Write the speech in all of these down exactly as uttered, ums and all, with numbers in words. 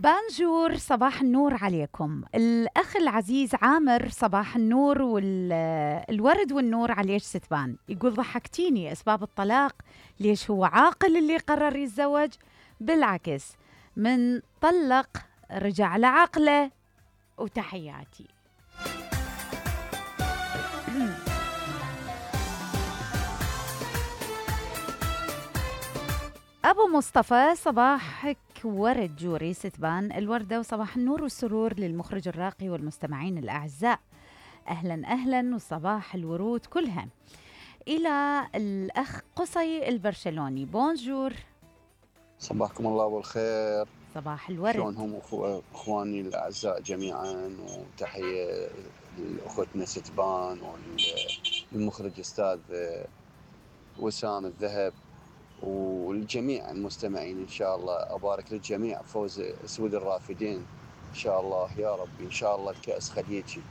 بانجور، صباح النور عليكم. الأخ العزيز عامر، صباح النور والورد والنور عليك ستبان. يقول ضحكتيني، أسباب الطلاق ليش هو عاقل اللي قرر يتزوج؟ بالعكس، من طلق رجع لعقله. وتحياتي. أبو مصطفى، صباحك ورد جوري ستبان الوردة، وصباح النور والسرور للمخرج الراقي والمستمعين الأعزاء. أهلا أهلا، وصباح الورود كلها. إلى الأخ قصي البرشلوني، بونجور. صباحكم الله بالخير. صباح الورد. شلونهم أخواني الأعزاء جميعا، وتحية لأخوتنا ستبان والمخرج أستاذ وسام الذهب والجميع المستمعين. إن شاء الله أبارك للجميع فوز أسود الرافدين إن شاء الله يا ربي. إن شاء الله الكأس خليجي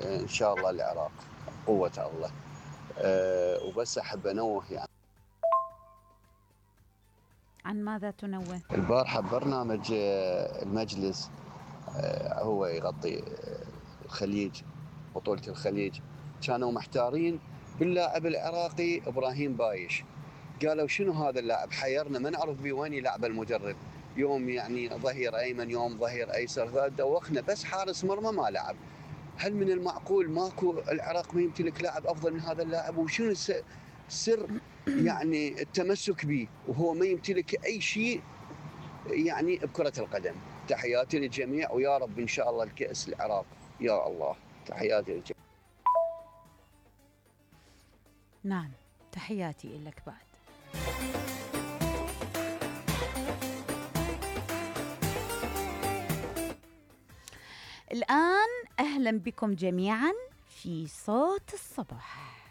إن شاء الله العراق قوة الله. أه وبس أحب أنوه يعني. عن ماذا تنوه؟ البارحة برنامج المجلس هو يغطي الخليج، بطولة الخليج، كانوا محتارين باللاعب العراقي إبراهيم بايش. قالوا شنو هذا اللاعب، حيرنا ما نعرف بيه وين يلعب المدرب، يوم يعني ظهير أيمن يوم ظهير أيسر، فدوخنا بس حارس مرمى ما لعب. هل من المعقول ماكو العراق ما يمتلك لاعب أفضل من هذا اللاعب؟ وشنو السر يعني التمسك به وهو ما يمتلك أي شيء يعني بكرة القدم؟ تحياتي للجميع، ويا رب إن شاء الله الكأس العراق يا الله. تحياتي للجميع. نعم، تحياتي لك بعد. الآن أهلا بكم جميعا في صوت الصباح.